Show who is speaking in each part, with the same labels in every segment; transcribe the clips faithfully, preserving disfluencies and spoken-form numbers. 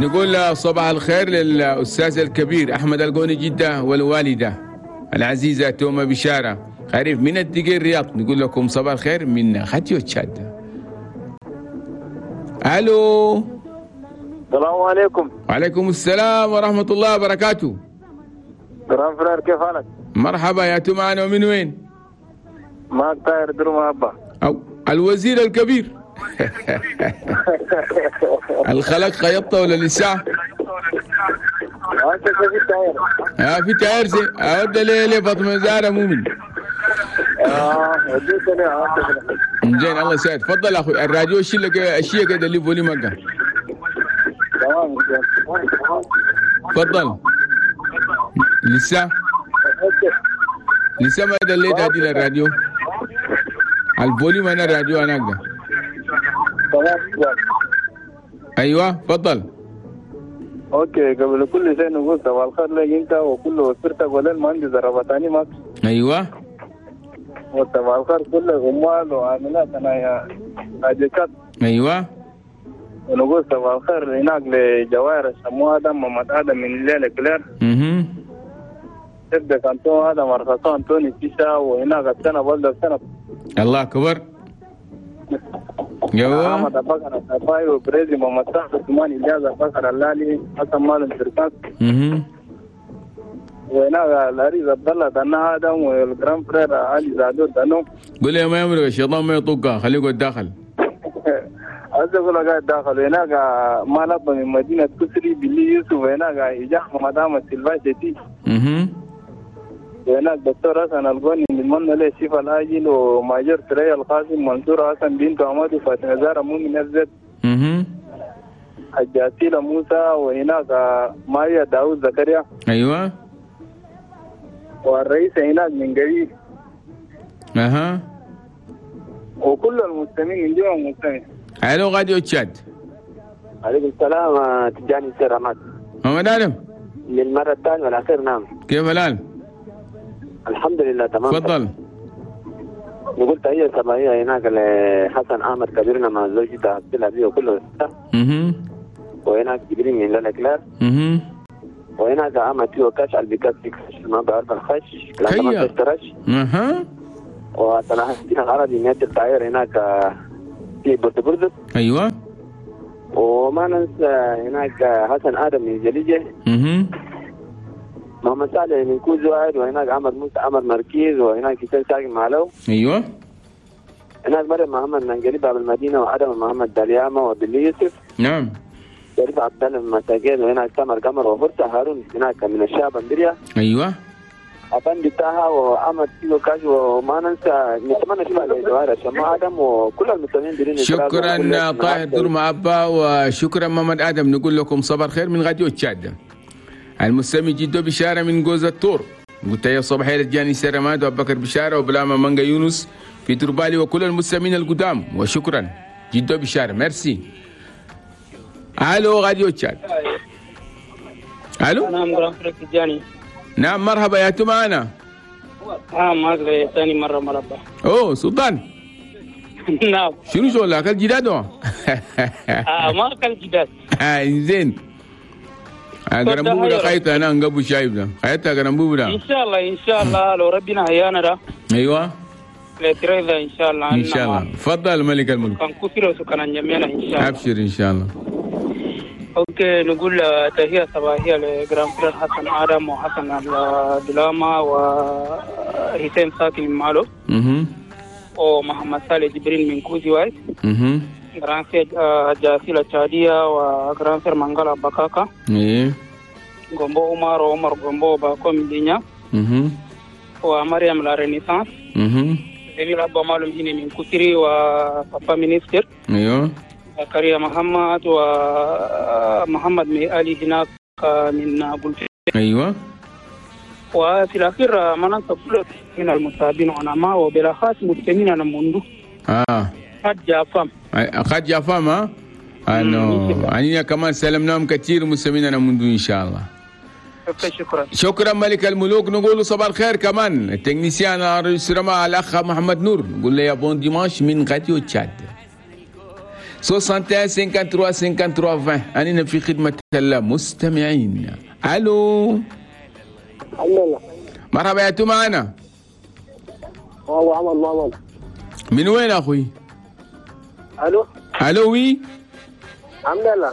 Speaker 1: نقول صباح الخير للأستاذ الكبير أحمد القوني جدة والوالدة العزيزة توما بشارة خريف من الدقير الرياض. نقول لكم صباح الخير من خاتيو تشاد. ألو،
Speaker 2: السلام عليكم.
Speaker 1: وعليكم السلام ورحمة الله وبركاته.
Speaker 2: grand frère، كيف حالك؟
Speaker 1: مرحبا يا توما، ومن وين؟
Speaker 2: معك طاهر درما أبا
Speaker 1: أو الوزير الكبير. الخلق خيطة ولا لسه؟
Speaker 2: انت في تاير؟
Speaker 1: اه في تاير زي اود ليه ليه فاطمة زهره مؤمن.
Speaker 2: اه وديت انا.
Speaker 1: زين الله يسعدك. تفضل اخوي، الراديو شيل لك اشياء كده اللي volume مكة.
Speaker 2: تمام
Speaker 1: تفضل. لسه لسه ما دليت هذه الراديو ال volume انا الراديو انا اقدر.
Speaker 2: تمام.
Speaker 1: ايوه تفضل.
Speaker 2: okay، قبل كل شيء نقول صباح الخير لك انت وكل اسرتك وللمهندس الربطاني ماك.
Speaker 1: ايوه
Speaker 2: وصباح الخير كل العمال وعاملات انا يا راجكات.
Speaker 1: ايوه
Speaker 2: ونقول صباح الخير هناك لجوائر الشمو ادم محمد ادم من ليلة كلير.
Speaker 1: اها
Speaker 2: تبدا كانتون ادم ارخصان توني سيسا وهناك السنة بلد السنة.
Speaker 1: الله اكبر. ايوه
Speaker 2: احمد ابو بكر الصفاي وبريزي محمد سعد عثمان الياس ابو بكر اللالي حسن مالم فركاس.
Speaker 1: اها
Speaker 2: وهناك العريس عبد الله دنا ادم وال grand frère علي زادو دانو.
Speaker 1: قول يا ما يمرق الشيطان ما يطقها خليك الداخل.
Speaker 2: عايز اقول لك قاعد داخل. هناك مالب من مدينة كسري بلي يوسف. هناك اجاه مدام سيلفا شتي.
Speaker 1: اها
Speaker 2: وهناك دكتور حسن الغني نتمنى له الشفاء العاجل وماجر سريع القاسم منصور حسن بنت عماد وفاطمة زهره مؤمن افزت.
Speaker 1: اها
Speaker 2: الجاسيلة موسى. وهناك ماريا داوود زكريا.
Speaker 1: ايوه
Speaker 2: والرئيس هناك من قريب.
Speaker 1: اها
Speaker 2: وكل المستمعين من جوا المستمعين.
Speaker 1: الو غادي تشاد.
Speaker 3: عليكم السلام تجاني سير عماد.
Speaker 1: محمد ادم
Speaker 3: للمرة الثانية والاخير. نعم
Speaker 1: كيف الحال؟
Speaker 3: الحمد لله تمام.
Speaker 1: تفضل.
Speaker 3: نقول تحية صباحية هناك لحسن احمد كبيرنا مع زوجته عبد العزيز وكل.
Speaker 1: اها
Speaker 3: وهناك جبريل من لالا كلار.
Speaker 1: اها
Speaker 3: وهناك عمد فيه كاش على البيكات ما بعرف الخش
Speaker 1: كيا. اها
Speaker 3: وصلاح الدين العربي من التعير هناك في بورتو.
Speaker 1: ايوه
Speaker 3: وما ننسى هناك حسن ادم من جليجه.
Speaker 1: اها
Speaker 3: محمد صالح من كوز واحد. وهناك عمر موسى عمر مركز. وهناك حسين ساكن معلو.
Speaker 1: ايوه
Speaker 3: هناك مريم محمد من قريب باب المدينة وادم محمد دالياما وبلي يوسف.
Speaker 1: نعم
Speaker 3: قريب عبد الله من مساجين. وهناك سمر قمر وفرصه هارون هناك من الشعب اندريا.
Speaker 1: ايوه
Speaker 3: أبندي طه وأحمد سيلو كاج. وما ننسى نتمنى شفاء لجوهر شمع آدم وكل المستمعين درين.
Speaker 1: شكرا طاهر درما أبا وشكرا محمد آدم. نقول لكم صباح الخير من غاديو تشاد. المستمع جدو بشارة من جوز التور. قلت يا صباح الجاني سرماد وأبو بكر بشارة وبلاما مانجا يونس في تربالي وكل المستمعين القدام. وشكرا جدو بشارة ميرسي. الو غاديو تشاد. الو.
Speaker 4: نعم grand frère تجاني.
Speaker 1: نعم مرحبا يا معنا.
Speaker 4: اه معك ثاني مرة مرحبا.
Speaker 1: اوه سلطان.
Speaker 4: نعم.
Speaker 1: شنو شغل اكل جداد؟
Speaker 4: اه ما اكل جداد.
Speaker 1: اه زين. قرنبوبة ده خايته انا نقبو شايب ده خايته قرنبوبة ده.
Speaker 4: ان شاء الله ان شاء الله لو ربنا حيانا ده.
Speaker 1: ايوه.
Speaker 4: لتريذا ان شاء الله.
Speaker 1: ان شاء الله. تفضل ملك الملك.
Speaker 4: كان كثير وسكان جميعنا ان شاء الله.
Speaker 1: ابشر ان شاء الله.
Speaker 4: okay نقول تحية صباحية ل grand frère حسن آدم وحسن الدلاما وحسين ساكن مالو.
Speaker 1: اها
Speaker 4: ومحمد صالح جبريل من كوزي وايت.
Speaker 1: اها
Speaker 4: grand frère جاسيلة تشادية و grand frère منغالا بكاكا.
Speaker 1: ايه
Speaker 4: غومبو عمر وعمر غومبو باكو من دنيا.
Speaker 1: اها
Speaker 4: ومريم la Renaissance.
Speaker 1: اها
Speaker 4: جميل أبو مالهم هنا من كوسري و papa ministre.
Speaker 1: ايوه
Speaker 4: زكريا محمد ومحمد ميالي هناك من بولفي.
Speaker 1: ايوه
Speaker 4: وفي الاخير ما ننسى كل من المصابين ونما وبالاخص مستمعين انا منذ
Speaker 1: اه
Speaker 4: قد جافام
Speaker 1: قد جافام ها انه يعني كمان سلمناهم كثير مستمعين انا منذ ان شاء الله.
Speaker 4: شكرا
Speaker 1: شكرا ملك الملوك. نقول صباح الخير كمان ال technicien الرئيس الاخ محمد نور. نقول له يا bon dimanche من غاديو تشاد. soixante et un cinquante-trois cinquante-trois vingt. أننا في خدمة المستمعين. ألو.
Speaker 5: الحمد.
Speaker 1: مرحبا يا تو معنا؟
Speaker 5: هو عمل محمد.
Speaker 1: من وين أخوي؟
Speaker 5: الو.
Speaker 1: ألو oui.
Speaker 5: الحمد لله.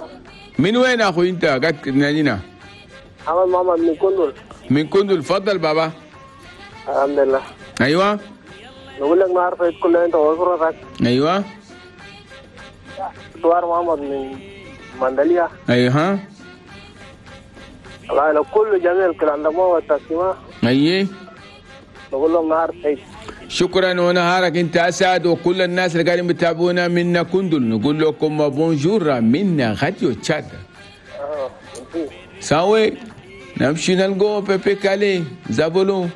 Speaker 1: من وين أخوي أنت قاعد تنادينا؟
Speaker 5: عمل محمد من كندل.
Speaker 1: من كندل، تفضل بابا.
Speaker 5: الحمد لله.
Speaker 1: أيوه.
Speaker 5: نقول لك ما عارف كل انت واسرتك.
Speaker 1: أيوه.
Speaker 5: سوار محمد من مندليا.
Speaker 1: أيوه.
Speaker 5: الله كل جميع الكلام ده والتقسيمة.
Speaker 1: أيه.
Speaker 5: نقول لهم نهار سعيد.
Speaker 1: شكرا ونهارك انت اسعد، وكل الناس اللي قاعدين بتابعونا من كندل نقول لكم bonjour من راديو تشاد.
Speaker 5: اه
Speaker 1: ساوي نمشي نلقو بيبي كالي زابولو.